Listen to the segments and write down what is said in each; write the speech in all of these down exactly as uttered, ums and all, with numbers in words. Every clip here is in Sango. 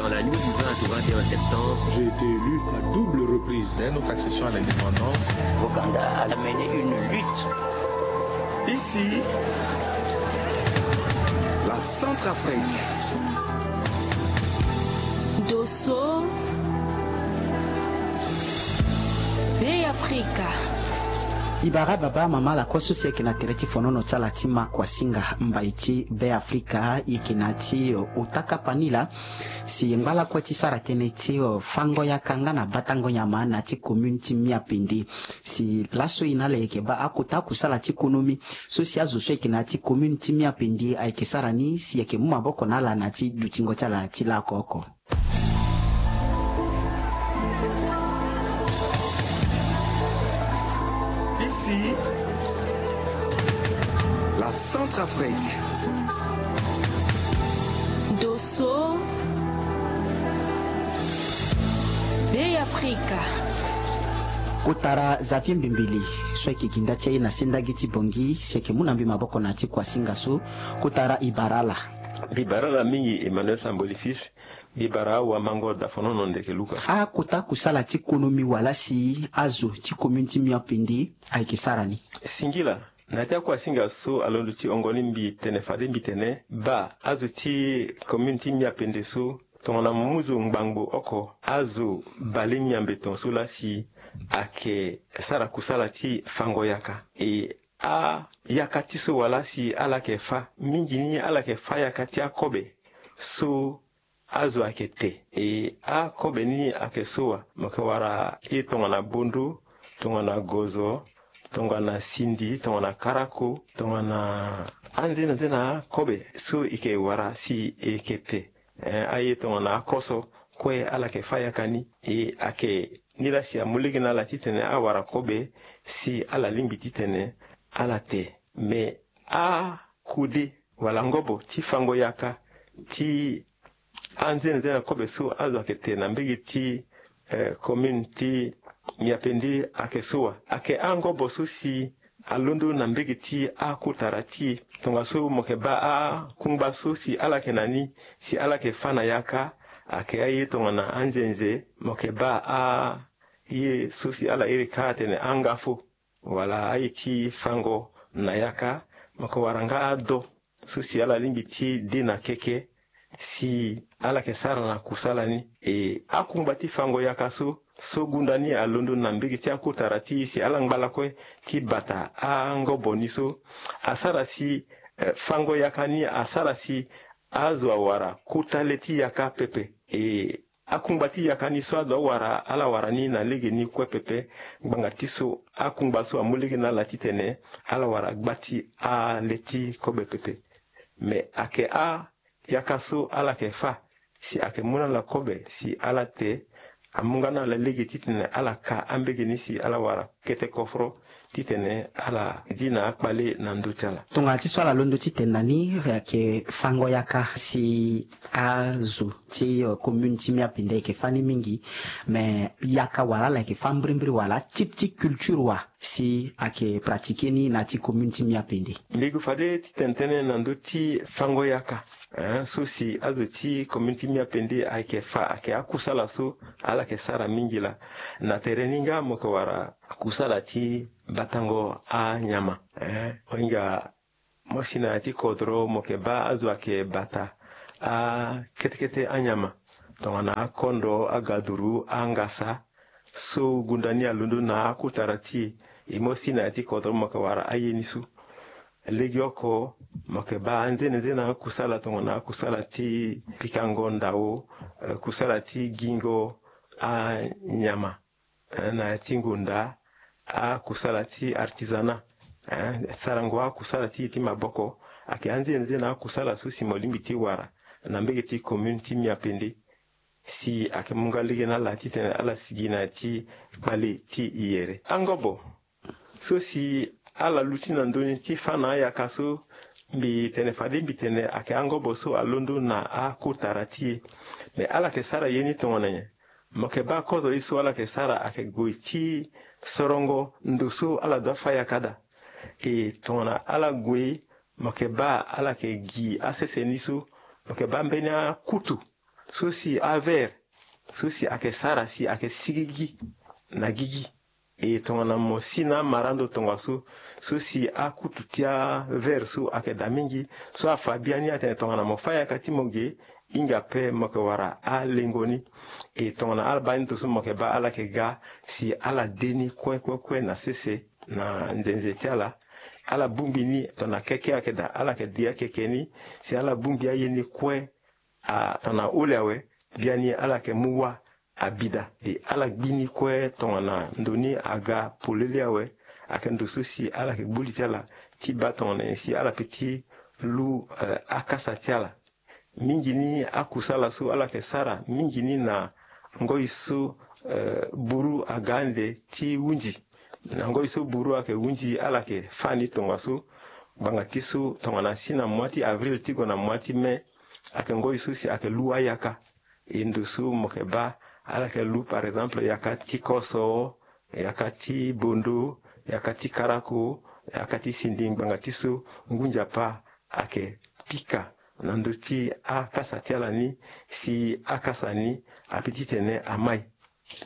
Dans la nuit du vingt au vingt et un septembre, j'ai été élu à double reprise. Dès notre accession à l'indépendance, Ouganda a mené une lutte. Ici, la Centrafrique. Dosso, Bê Afrika. E bara baba, mama, lakue so si ayeke na tere ti fonono ti ala ti ma kuasinga mbai ti Bê Afrika, e yeke na ya ti ota kapa ni laa. Si e ngba lakue ti sara tënë ti, eh, fango yaka nga na batango nyama na ya ti commune ti Miapende. Si laso e na ala e yeke baa akota kusala ti konomi so si azo so ayeke na ya ti commune ti Miapende ayeke sara ni, si e yeke mu maboko na ala na ya ti dutingo ti ala ti laoko oko. Ici, la Centrafrique. Dosso, Bê Afrika. Kotara Xavier Mbimbili so ayeke ginda ti aye na sendagi ti Bangui, si ayeke mu na mbi maboko na ya ti kuasinga so. Kotara, e bara ala. Mbi bara ala mingi, Emmanuel Samboli Fils. Mbi bara awamango da fonono ndeke luka. Akota kusala ti konomi wala si azo ti commune ti Miapende ayeke sara ni? Singila. Na ya ti akuasinga so alondo ti hongo ni, mbi tene fade mbi tene baa azo ti commune ti Miapende so, tongana muzu ngbangbo oko, azo bale miambe ton so laa si ayeke sara kusala ti fango yaka. E ayaka ti so wala si ala yeke fâ mingi ni, ala yeke fâ yaka ti akobe so azo ayeke te. E akobe ni ayeke so wa? Mo yeke wara ye tongana bondo, tongana gozo, tongana sindi, tongana karako, tongana anzenanzena akobe so e yeke wara si e yeke te. Eh, aye tongana akoso kue ala yeke fâ yaka ni. E ayeke ni laa si amu lege na ala titene awara kobe si ala lingbi titene ala te. Me akode wala ngobo ti fango yaka ti anzenanzena kobe so azo ayeke te na mbege ti, eh, commune ti Miapende ayeke so wa? Ayeke angobo so si alondo na mbege ti akotara ti e. Tongaso mo yeke baa akungba so si ala yeke na ni si ala yeke fâ na yaka, ayeke aye tongana anzenze, mo yeke baa aye so si ala iri kâ atene angafo, wala aye ti fango na yaka, mo yeke wara nga ado so si ala lingbi ti de na keke si ala yeke sara na kusala ni. E akungba ti fango yaka so, so gunda ni alondo na mbege ti akotara ti e si ala ngba lakue ti bata angobo ni so, asara si, eh, fango yaka ni asara si azo awara kota le ti yaka pepe. E akungba ti yaka ni so azo awara, ala wara ni na legeni kue pepe. Ngbanga ti so akungba so amu lege na ala titene ala wara gba ti ale ti kobe pepe. Me ayeke ayaka so ala yeke fâ si ayeke mu na ala kobe si ala te, amu nga na ala lege titene ala ka ambege ni si ala wara kete koforo titene ala di na akpale na ndö ti ala. Tongana ti so ala londo titene na ni, ayeke fango yaka si azo ti, eh, commune ti Miapende ayeke fâ ni mingi. Me yaka wala ala yeke fâ mbirimbiri wala type ti culture wa si ayeke pratiquer ni na ya ti commune ti Miapende? Mbi gue fade titene tënë na ndö ti fango yaka, eh, so si azo ti commune ti Miapende ayeke fâ, ayeke akusala so ala yeke sara mingi laa. Na tere ni nga mo yeke wara kusala ti batango anyama, eh, mo hinga mo si na ya ti kodro mo yeke baa azo ayeke bata akete kete anyama, tongana akondo, agaduru, angasa, so gunda ni alondo na akotara ti e. E mo si na ya ti kodro mo yeke wara aye ni so. Legeoko mo yeke baa anzenanzena akusala tongana akusala ti pikango ndao, eh, kusala ti gingo anyama, eh, na ya ti ngonda, akusala ti artisanat, eh, sarango akusala ti e ti maboko. Ayeke anzenanzena akusala so si mo lingbi ti wara na mbege ti commune ti Miapende. Si ayeke mu nga lege na ala titene ala sigi na ya ti kpale ti yere. Angobo so si ala luti na ndö ni ti fâ na ayaka so, mbi tene fade mbi tene ayeke angobo so alondo na akotara ti e. Me ala yeke sara ye ni tongana nyen? Mo yeke baa kozo ye so ala yeke sara ayeke gue ti sorongo ndo so ala doit fâ yaka daa. E tongana ala gue, mo yeke baa ala yeke gi asese ni so, mo yeke baa mbeni akutu so si avert so si ayeke sara si ayeke sigigi na gigi. E tongana mo si na amara ndo tongaso so si akutu ti avert so ayeke daa mingi, so afa biani atene tongana mo fâ yaka ti mo ge, hinga pe mo yeke wara alengo ni. E tongana ala baa ni ndo so mo yeke baa ala yeke ga si ala de ni kue kue kue na sese na nzenze ti ala. Ala bongbi ni tongana keke ayeke daa, ala yeke de akeke ni si ala bongbi aye ni kue. A tongana ole awe, biani ala yeke mu wâ abi daa. E ala gbi ni kue tongana ndo ni aga polele awe. Ayeke ndo so si ala yeke gbu li ti ala ti baa tongana nyen si ala peut ti lu, eh, akasa ti ala. Mingi ni akusala so ala yeke sara mingi ni na ngoi so, eh, buru aga ande ti hunzi. Na ngoi so buru ayeke hunzi, ala yeke fâ ni tongaso. Ngbanga ti so tongana asi na mois ti avril ti gue na mois ti mai, ayeke ngoi so si ayeke lu ayaka. E ndo so mo yeke baa, ala yeke lu par exemple yaka ti koso, yaka ti bondo, yaka ti karako, yaka ti sindi, ngbanga ti so ngu nzapa ayeke pika na ndö ti akasa ti ala ni, si akasa ni apeut ti tene amai.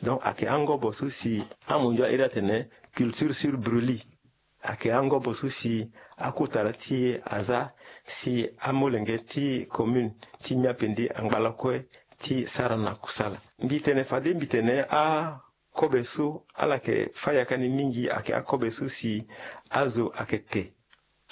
Donc ayeke angobo so si amunzu airi atene culture sur brûlis. Ayeke angobo so si akota ti e aza si amolenge ti commune ti Miapende angba lakue ti sara na kusala. Mbi tene fade mbi tene akobe so ala yeke fâ yaka ni mingi ayeke akobe so si azo ayeke te,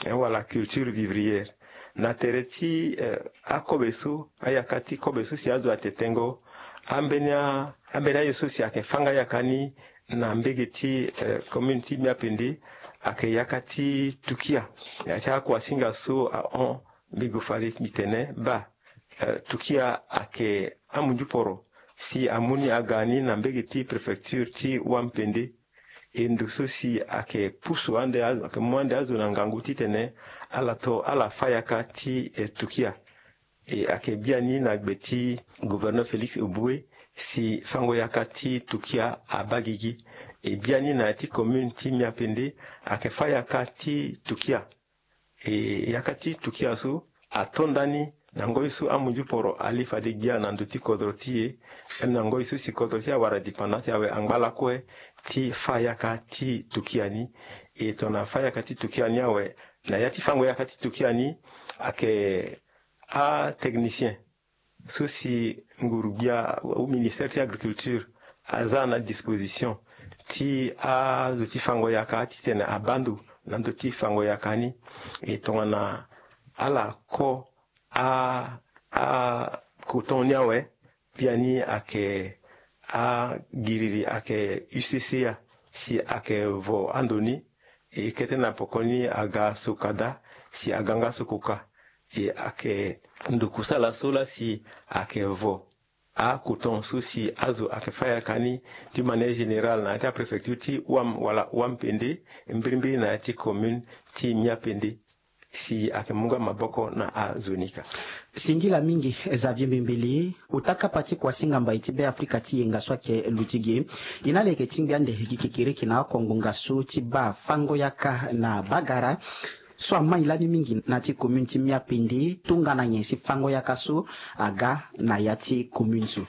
eh, wala culture vivrière. Na tere ti, eh, akobe so, ayaka ti kobe so si azo ate tengo, ambeni a-, ambeni aye so si ayeke fâ nga yaka ni na mbege ti, eh, commune ti Miapende, ayeke yaka ti tukia. Ya ti akuasinga so ahon, mbi gue fade mbi tene baa, eh, tukia ayeke amunzu poro si amu ni aga ni na mbege ti préfecture ti Wampende. E ndo so si ayeke pusu ande azo, ayeke mu ande azo na ngangu titene ala to ala fâ yaka ti, eh, tukia. E ayeke biani na gbe ti gouverneur Félix Éboué si fango yaka ti tukia abaa gigi. E biani na ya ti commune ti Miapende ayeke fâ yaka ti tukia. E yaka ti tukia so ato ndani na ngoi so amunzu poro ali fade gbia na ndö ti kodro ti e. Même na ngoi so si kodro ti e awara dépendance awe angba lakue ti fâ yaka ti tukia ni. E tongana fâ yaka ti tukia ni awe, na ya ti fango yaka ti tukia ni ayeke atechnicien so si nguru-gbia ou ministère ti agriculture aza na disposition ti azo ti fango yaka titene abaa ndo na ndö ti fango yaka ni. E tongana ala ko a, a coton ni awe, biani ayeke agiriri ayeke U C C A si ayeke vo ando ni. E kete na poko ni aga soka daa si aga nga sokoka. E ayeke ndo kusala so laa si ayeke vo acoton so si azo ayeke fâ yaka ni d'une manière générale na ya ti apréfecture ti Ouam wala Wampende, mbirimbiri na ya ti commune ti Miapende, si ayeke mu nga maboko na azo ni ka. Singila mingi Xavier Mbembele, ota kapa ti kuasinga mbai ti Beafrika ti yenga so ayeke luti ge. E na ala yeke ti ngbia ande gi kekereke na oko ngonga so ti baa fango yaka na bagara so amai lani mingi na ya ti commune ti Miapende, tongana nyen si fango yaka so aga na ya ti commune so.